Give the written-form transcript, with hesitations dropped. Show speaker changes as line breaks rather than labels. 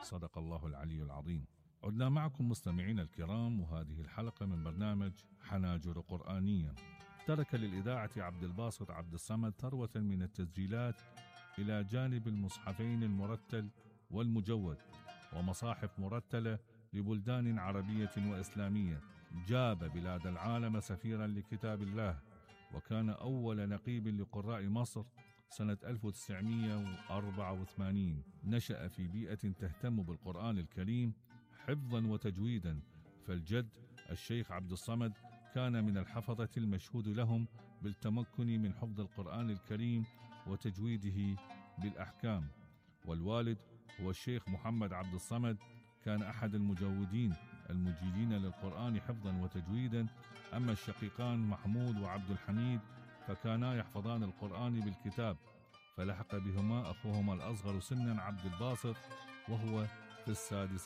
صدق الله العلي العظيم. عدنا معكم مستمعين الكرام، وهذه الحلقة من برنامج حناجر قرآنية. ترك للإذاعة عبد الباسط عبد الصمد ثروة من التسجيلات إلى جانب المصحفين المرتل والمجود ومصاحف مرتلة لبلدان عربية وإسلامية. جاب بلاد العالم سفيرا لكتاب الله، وكان أول نقيب لقراء مصر سنة 1984. نشأ في بيئة تهتم بالقرآن الكريم حفظا وتجويدا، فالجد الشيخ عبد الصمد كان من الحفظة المشهود لهم بالتمكن من حفظ القرآن الكريم وتجويده بالأحكام، والوالد هو الشيخ محمد عبد الصمد، كان أحد المجودين المجيدين للقرآن حفظا وتجويدا. أما الشقيقان محمود وعبد الحميد فكانا يحفظان القرآن بالكتاب، فلحق بهما أخوهما الأصغر سنا عبد الباسط وهو في السادسة